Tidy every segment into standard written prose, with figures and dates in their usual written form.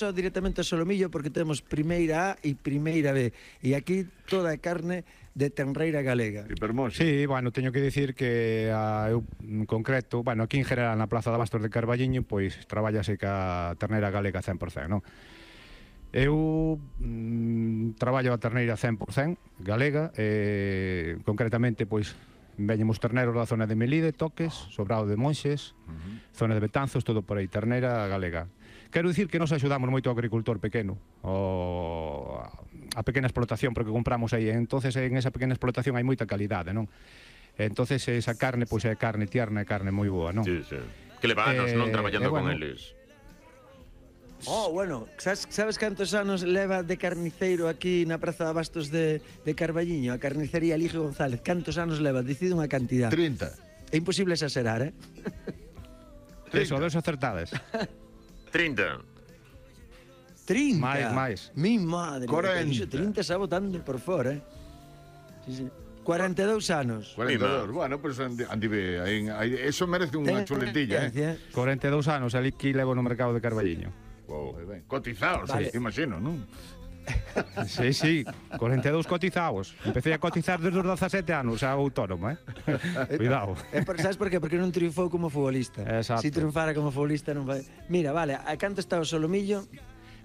só directamente ao solomillo porque temos primeira A e primeira B. E aquí toda a carne de tenreira galega. Hipermosa. Sí, bueno, teño que dicir que eu en concreto, bueno, aquí en general na Plaza de Abastos de Carballiño, pois traballase ca terneira galega 100%, non? Eu traballo a terneira 100% galega, concretamente, pois, veñemos terneros da zona de Melide, Toques, Sobrado de Monxes, zona de Betanzos, todo por aí, terneira galega. Quero dicir que nos axudamos moito ao agricultor pequeno, a pequena explotación, porque compramos aí, entonces en esa pequena explotación hai moita calidade, non? Entonces esa carne, pois é carne tierna, é carne moi boa, non? Sí, sí. Que leva anos non traballando con eles. Bueno, sabes cantos anos leva de carniceiro aquí na Praza de Abastos de Carballiño, a carnicería Eligio González? Cantos anos leva? Decide unha cantidad. 30. É imposible exagerar, Eso, dos acertades. 30. 30. Máis. Mi madre. 40. 30 xa botando por fora, Sí. 42 anos. 42. Bueno, pues andive, eso merece unha chuletilla, 42 anos, ali que levo no mercado de Carballiño. Wow, cotizados, Vale. imagino, non? Sí, 42 cotizados. Empecé a cotizar desde os 17 anos, xa autónomo, Cuidado. Sabes por qué? Porque non triunfou como futbolista. Exacto. Si triunfara como futbolista non vai. Mira, vale, a canto está o solomillo?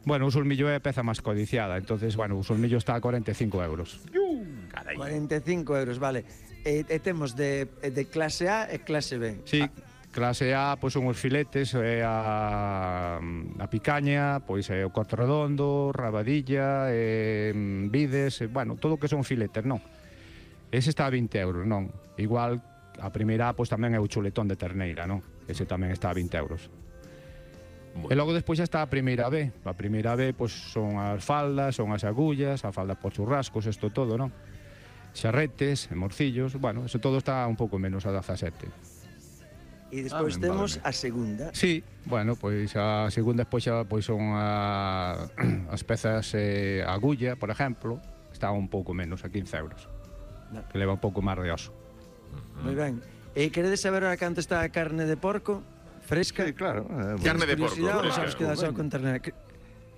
Bueno, o solmillo é a peza máis codiciada, entonces, bueno, o solmillo está a 45 euros. Carai. 45 euros, vale. E temos de clase A e clase B. Sí, clase A, pois son os filetes, a picaña, pois é o corte redondo, rabadilla, vides, bueno, todo o que son filetes, non? Ese está a 20 euros, non? Igual, a primeira A, pois tamén é o chuletón de terneira, non? Ese tamén está a 20 euros. E logo despois xa está a primeira B. A primeira B, pois son as faldas, son as agullas, a falda por churrascos, isto todo, non? Xarretes, morcillos, bueno, eso todo está un pouco menos a 17. E despois temos a segunda. Sí, bueno, pois a segunda despois xa pois son as pezas agulla, por exemplo, está un pouco menos, a 15 euros. Que leva un pouco máis de oso. Moi ben. E queredes saber ahora canto está a carne de porco? Fresca? Sí, claro. Carne de porco, Curiosidade, fresca. sabes que dá só con ternera.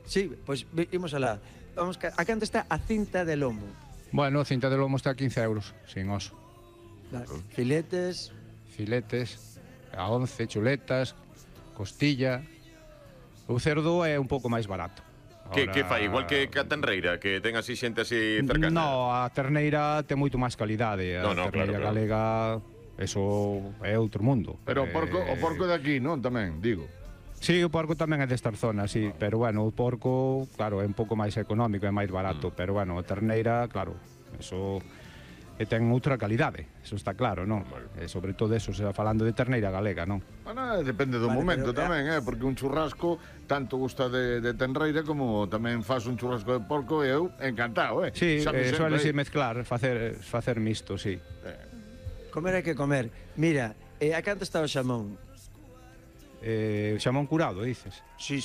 Sí, pois imos alá. Vamos, a canto está a cinta de lomo? Bueno, a cinta de lomo está a 15 euros, sin oso. Filetes. Filetes, a 11, chuletas, costilla. O cerdo é un pouco máis barato. Que fai? Igual que a tenreira, que ten así xente así cercana? No, a terneira ten moito máis calidade. A terneira galega, eso é outro mundo. Pero o porco de aquí, non? Tamén, digo. Sí, o porco tamén é destas zonas, sí, pero bueno, o porco, claro, é un pouco máis económico, é máis barato, pero bueno, a terneira, claro, eso ten outra calidade, eso está claro, non? E sobre todo eso, se va falando de terneira galega, non? Bueno, depende do momento tamén, porque un churrasco tanto gusta de tenreira como tamén faz un churrasco de porco e eu encantado, Sí, suele mezclar, facer misto, sí. Comer hai que comer. Mira, a canto está o xamón? Xamón curado, dices? Sí.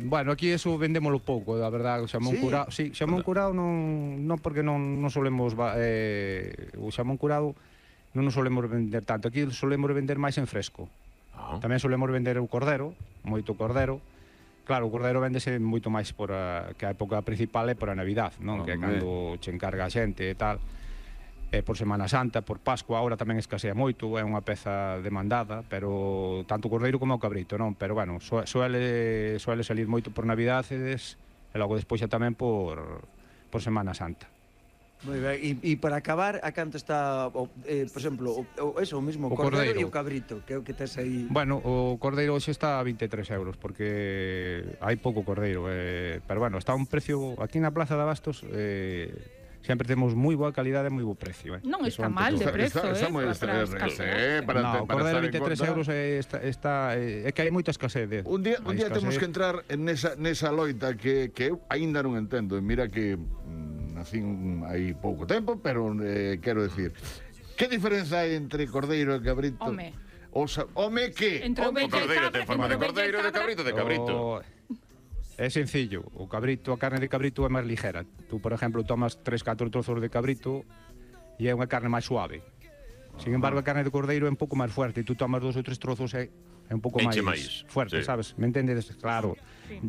Bueno, aquí eso vendémolo pouco, a verdade, o xamón curado. Sí, xamón curado non porque non solemos o xamón curado non nos solemos vender tanto. Aquí solemos vender máis en fresco. Tamén solemos vender o cordero, moito cordero. Claro, o cordero véndese moito máis que a época principal é por a Navidad, non? Que é cando che encarga a xente e tal. Por Semana Santa, por Pascua, agora tamén escasea moito, é unha peza demandada, pero tanto o cordeiro como o cabrito, non? Pero, bueno, suele salir moito por Navidades e logo despois xa tamén por Semana Santa. Moi ben, e para acabar, a canto está, por exemplo, o mesmo, o cordeiro e o cabrito, que é o que tes aí? Bueno, o cordeiro hoxe está a 23 euros, porque hai pouco cordeiro, pero, bueno, está a un precio, aquí na Plaza de Abastos, sempre temos moi boa calidade e moi bo precio. Non está mal de prezo, Está moi o cordeiro 23 euros é que hai moita escasez. Un día temos que entrar nesa loita que eu aínda non entendo. Mira que nacín hai pouco tempo, pero quero decir, que diferenza hai entre cordeiro e cabrito? Home que? Entre o cordeiro ten forma de cordeiro e de cabrito de cabrito. É sencillo, a carne de cabrito é máis ligera. Tú, por exemplo, tomas 3-4 trozos de cabrito e é unha carne máis suave. Sin embargo, a carne de cordeiro é un pouco máis fuerte, e tú tomas 2 ou 3 trozos é un pouco Enche máis máis, fuerte, sí. sabes? Me entendedes? Claro.